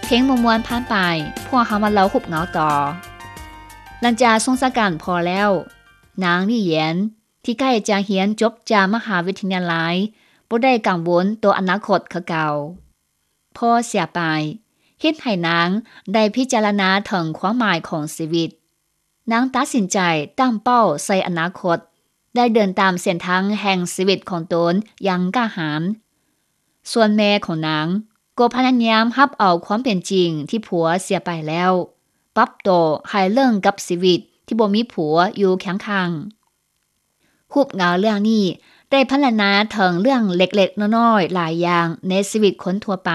ເພງມ່ວນໆຜ່ານໄປ, ພວກເຮົາມາເລົ່າຮູບເງົາຕໍ່. ຫຼັງຈາກສົ່ງສາການພໍ່ແລ້ວ, ນາງລີ້ຢຽນ ທີ່ໃກ້ຈະຮຽນຈົບຈາກມະຫາວິທະຍາໄລ ບໍ່ໄດ້ກັງວົນຕໍ່ອະນາຄົດຄືເກົ່າ. ພໍ່ເສຍໄປ ເຮັດໃຫ້ນາງໄດ້ພິຈາລະນາເຖິງຄວາມໝາຍຂອງຊີວິດ. ນາງຕັດສິນໃຈຕັ້ງເປົ້າໃສ່ອະນາຄົດ ແລະ ເດີນຕາມເສັ້ນທາງແຫ່ງຊີວິດຂອງຕົນຢ່າງກ້າຫານ. ສ່ວນແມ່ຂອງນາງກໍພະຍາຍາມຮັບເອົາຄວາມເປັນຈິງທີ່ຜົວເສຍໄປແລ້ວ, ປັບໂຕໃຫ້ເລິ່ງກັບຊີວິດທີ່ບໍ່ມີຜົວຢູ່ຄຽງຂ້າງ. ຮູບເງົາເລື່ອງນີ້ໄດ້ພັນລະນາເຖິງເລື່ອງເລັກໆນ້ອຍໆຫຼາຍຢ່າງໃນຊີວິດຄົນທົ່ວໄປ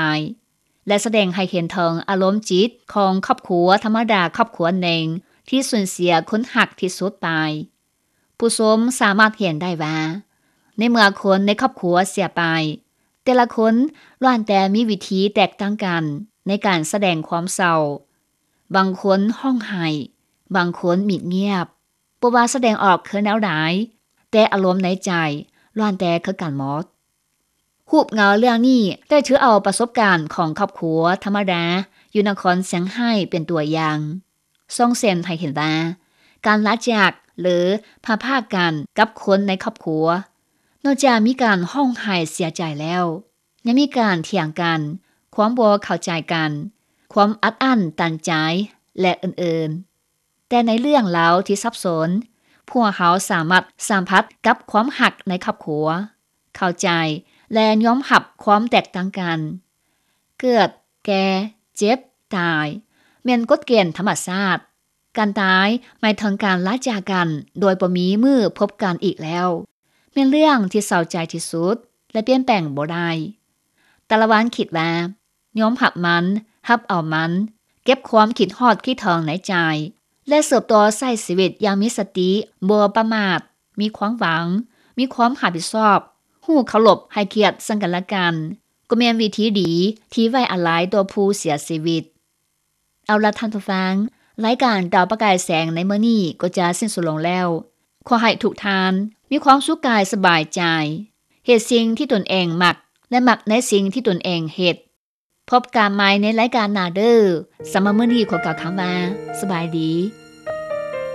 ແລະ ສະແດງໃຫ້ເຫັນເຖິງອາລົມຈິດຂອງຄອບຄົວທຳມະດາຄອບຄົວໜຶ່ງທີ່ສູນເສຍຄົນຮັກທີ່ສຸດໄປ. ຜູ້ຊົມສາມາດເຫັນໄດ້ວ່າ ໃນເມື່ອຄົນໃນຄອບຄົວເສຍໄປ, ແຕ່ລະຄົນລ້ວນແຕ່ມີວິທີແຕກຕ່າງກັນໃນການສະແດງຄວາມເສົ້າ. ບາງຄົນຮ້ອງໄຫ້, ບາງຄົນມິດງຽບ, ບໍ່ວ່າສະແດງອອກຄືແນວໃດ, ແຕ່ອາລົມໃນໃຈລ້ວນແຕ່ຄືກັນໝົດ. ຮູບເງົາເລື່ອງນີ້ໄດ້ຖືເອົາປະສົບການຂອງຄອບຄົວທຳມະດາຢູ່ນະຄອນຊຽງໄຮ້ເປັນຕົວຢ່າງ, ສ່ອງເສັນໃຫ້ເຫັນວ່າ ການລາຈາກ ຫຼື ພາດພາກກັນກັບຄົນໃນຄອບຄົວ ນອກຈາກມີການຮ້ອງໄຫ້ເສຍໃຈແລ້ວ, ຍັງມີການຖຽງກັນ, ຄວາມບໍ່ເຂົ້າໃຈກັນ, ຄວາມອັດອັ້ນຕັນໃຈ ແລະ ອື່ນໆ. ແຕ່ໃນເລື່ອງລາວທີ່ສັບສົນ, ພວກເຮົາສາມາດສຳຜັດກັບຄວາມຮັກໃນຄອບຄົວ, ເຂົ້າໃຈ ແລະ ຍອມຮັບຄວາມແຕກຕ່າງກັນ. ເກີດ, ແກ່, ເຈັບ, ຕາຍ ແມ່ນກົດເກນທຳມະຊາດ. ການຕາຍໝາຍເຖິງການລາຈາກກັນໂດຍບໍ່ມີມື້ພົບກັນອີກແລ້ວ, ແມ່ນເລື່ອງທີ່ເສົ້າໃຈທີ່ສຸດ ແລະ ປ່ຽນແປງບໍ່ໄດ້. ຕາລະວັນຄິດວ່າ ຍອມຮັບມັນ, ຮັບເອົາມັນ, ເກັບຄວາມຄິດຮອດຄິດເຖິງໃນໃຈ ແລະ ສືບຕໍ່ໃຊ້ຊີວິດຢ່າງມີສະຕິ, ບໍ່ປະໝາດ, ມີຄວາມຫວັງ, ມີຄວາມຮັບຜິດຊອບ, ຮູ້ເຄົາລົບໃຫ້ກຽດເຊິ່ງກັນແລະກັນ, ກໍແມ່ນວິທີດີທີ່ໄວ້ອາໄລຕໍ່ຜູ້ເສຍຊີວິດ. ເອົາລະທ່ານຜູ້ຟັງ, ລາຍການດາວປະກາຍແສງໃນມື້ນີ້ກໍຈະສິ້ນສຸດລົງແລ້ວ. ຂໍໃຫ້ທຸກທ່ານມີຄວາມສຸກກາຍສະບາຍໃຈ, ເຮັດສິ່ງທີ່ຕົນເອງມັກ ແລະ ມັກໃນສິ່ງທີ່ຕົນເອງເຮັດ. ພົບກັນໃໝ່ໃນລາຍການໜ້າເດີ້. ສຳລັບມື້ນີ້ຂໍກ່າວຄຳວ່າ ສະບາຍດີ.